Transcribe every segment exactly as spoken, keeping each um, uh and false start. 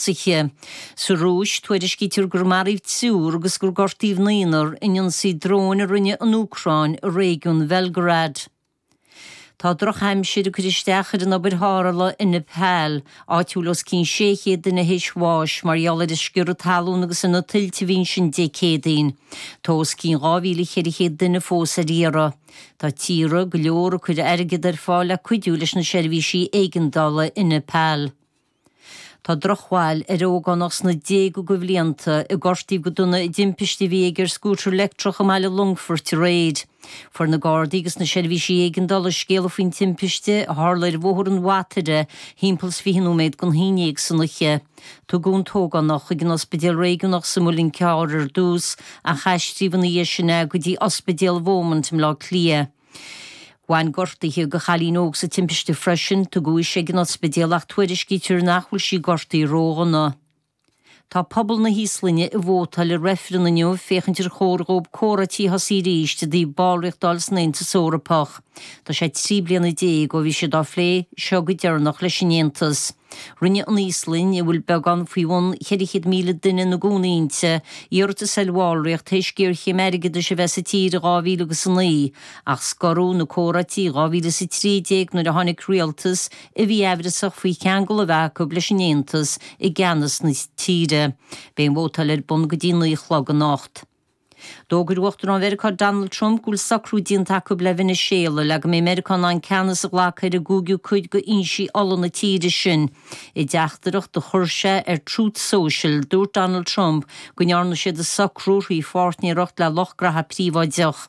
ionsaithe. Sa Rúis, tuairiscítear gur maraíodh triúr agus gur gortaíodh naonúr in ionsaí dróin a rinne an Úcráin i réigiún Bhelgorod. Tá drochaimsir ag cur isteach ar an obair tharrthála i Nepal, áit a bhfuil os cionn sé chéad duine théis bháis mar gheall ar an sciorradh talún agus ar na tuilte a bhí ansin Dé Céadaoin. Tá os cionn dhá mhíle cheithre chéad duine fós ar iarraidh. Tá tíortha go leor ag cur airgead ar fáil le cuidiú leis na seirbhísí éigeandála i Nepal. Tá drochbhail ar ógánach sna déaga de bhlianta a gortaíodh go dona i dtimpiste a bhí aige ar scútar leictreach i mbaile Longfoirt aréir. Fuair na Gardaí agus na seirbhísí éigeandála scéala faoin timpiste a tharla ar Bhóthar an Bhataire thimpeall is fiche nóiméad don haon déag san oíche. Tugadh an t-ógánach chuig an ospidéal réigiúnach sa Mhuileann Cearr ar dtús ach aistríodh ina dhiaidh sin é go dtí ospidéal Beaumont i mBleá Cliath. Bhain gortuithe do chailín óg sa timpiste freisin, tugadh ise ag an ospidéal ach tuairiscítear nach bhfuil sí gortaithe ródhona. Tá pobal na hÍoslainne ag vótáil i reifreann inniu féachaint ar chóir dhóibh comhráití a thosaí arís i dtaobh ballraíocht a fháil san Aontas Eorpach. Tá sé trí bliana déag ó bhí siad á phlé seo go deireanach leis an Aontas. Rinne an Íoslainn, a bhfuil beagán faoi bhun ceithre chéad míle duine ina gcónaí inti, iarratas ar bhallraíocht théis géarchéim airgeadais a bheith sa tír i dhá mhíle agus a naoi, ach scoradh na comhráití i dhá mhíle is a trí déag nuair a tháinig rialtas a bhí aimhreasach faoi cheangal a bheith acu leis an Aontas i gceannas na tíre. Beidh an vótáil ar bun go dtí naoi a chlog anocht. D'fhógair Uachtarán Mheiriceá Donald Trump go bhfuil socrú déanta acu le Veiniséala le go mbeidh Meiriceá in ann ceannas a ghlacadh ar an gcúigiú cuid d'fhoinsí ola na tíre sin. I dteachtaireacht a chuir sé ar Truth Social, dúirt Donald Trump go ndearna siad an socrú thrí pháirtnéireacht le lucht graithe príobháideach.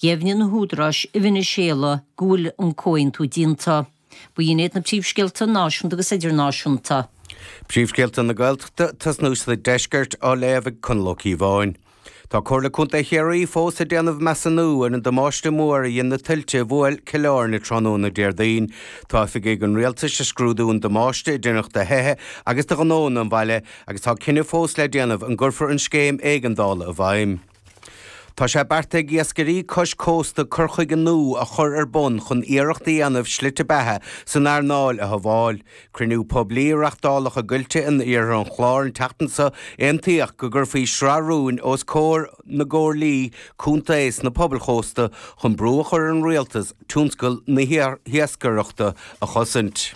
Dheimhnigh na húdaráis i Veiniséala go bhfuil an comhaontú déanta. B'in iad na príomhscéalta náisiúnta agus idirnáisiúnta. Príomhscéalta na Gaeltachta, tosnú sa Deisceart á léamh ag Conall Ó Cíobháin. Tá Comhairle Contae Chiarraí fós ag déanamh measúnú ar an damáiste mór a dhein na tuilte a bhuail Cill Airne tráthnóna Déardaoin. Tá oifigigh an rialtais ag scrúdú an damáiste a deineadh do thithe agus do ghnónna an bhaile agus tá cinneadh fós le déanamh an gcuirfear an scéim éigeandála i bhfeidhm. Tá sé beartaithe ag iascairí cois cósta cur chuige nua a chur ar bun chun iarracht a dhéanamh slite beatha san earnáil a shábháil. Cruinniú poiblí a reáchtáladh i gCoillte in iarthar an Chláir an tseachtain seo, aontaíodh go gcuirfí sraith rúin os comhair na gcomhairlí contae sna pobail chósta chun brú a chur ar an rialtas tionscal na hiascaireachta a chosaint.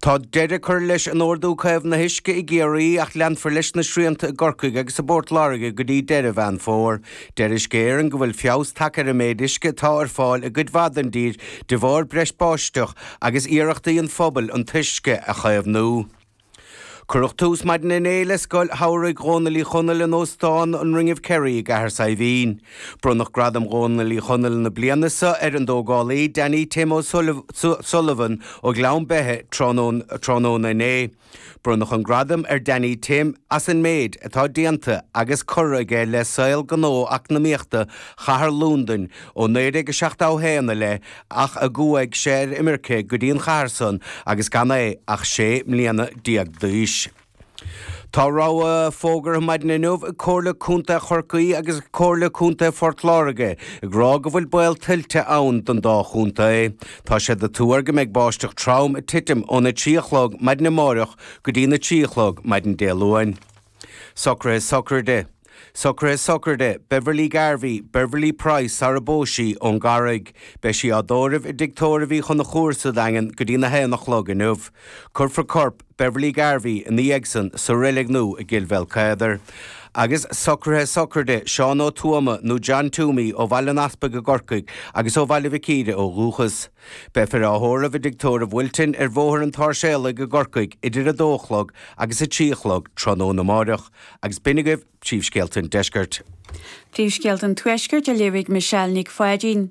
Tá deireadh curtha leis an Ordú Caomhnaithe Uisce i gCiarraí ach leanfar leis na srianta i gCorcaigh agus i bPort Láirge go dtí deireadh Mheán Fómhair. Deir Uisce Éireann go bhfuil feabhas tagtha ar an méid uisce atá ar fáil i gcuid mhaith den dtír de bharr breis báisteach agus iarrachtaí an phobail an t-uisce a chaomhnú. Cuireadh tús maidin inné le Scoil Shamhraidh Dhónaill Uí Chonaill in Óstán an Ring of Kerry i gCathair Saidhbhín. Bronnadh Gradam Dhónaill Uí Chonaill na bliana seo ar an dtógálaí Danny Tim O'Sullivan ó Ghleann Beithe tráthnóna inné. Bronnadh an gradam ar Danny Tim as an méid atá déanta agus curtha aige le saol gnó eacnamaíochta chathair Londain ó naoi déag a seachtó a haon i leith ach a gcuaigh sé ar imirce go dtí an chathair san agus gan é ach sé mbliana déag d'aois. Tá rabhadh fógartha maidin inniu ag Comhairle Contae Chorcaí agus ag Comhairle Contae Phort Láirge ag rá go bhfuil baol tuilte ann don dá chontae. Tá siad ag tuar go mbeidh báisteach trom ag titim óna trí a chlog maidin amáireach go dtí na trí a chlog maidin Dé Luain. Socruithe sochraide. Socruithe sochraide Beverly Garvey, Beverly Price sara bpós sí ón gCarraig. Beidh sí á dtórramh i dTigh Tórraimh Uí Chonchúir sa Daingean go dtí na haon a chlog inniu. Cuirfear corp Beverly Garvey ina dhiaidh san sa reilig nua i gCill Bhéal Agus socruithe sochraide Seán Ó Tuama nó John Toomey ó Bhaile an Easpaig i gCorcaigh agus ó Bhaile Mhic Íre ó dhúchas. Beifear á thórramh i dTigh Tórraimh Wilton ar Bhóthar an tSáirséalaigh i gCorcaigh idir a dó a chlog agus a trí a chlog tráthnóna amáireach. Agus b'in agaibh príomhscéalta an deiscirt. Príomhscéalta an Tuaiscirt á léamh ag Michelle Nic Pháidín.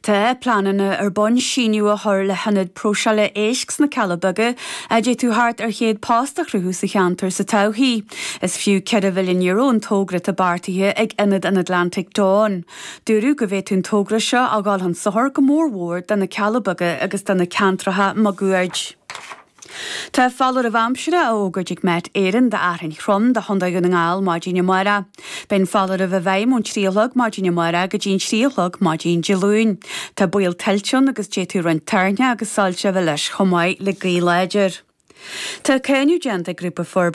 Tá pleananna ar bun síneadh a chur le hionad próiseála éisc sna Cealla Beaga a d'fhéadfadh thart ar chéad post a chruthú sa cheantar sa todhchaí. Is fiú ceithre mhilliún euro an togra atá beartaithe ag Ionad an Atlantic Dawn. Dúradh go bhféadfadh an togra seo a dhul chun sochair go mórmhór do na Cealla Beaga agus do na ceantracha máguaird. Tá foláireamh aimsire á fhógairt ag Met Éireann d'fhearthainn throm do Chontae Dhún na nGall maidin amárach. Beidh an foláireamh i bhfeidhm ón trí a chlog maidin amárach go dtí an trí a chlog maidin Dé Luain. Tá baol tuilte ann agus d'fhéadfadh roinnt toirne agus soilse a bheith leis chomh maith le gaoth láidir. Tá cáineadh déanta ag grúpa forbartha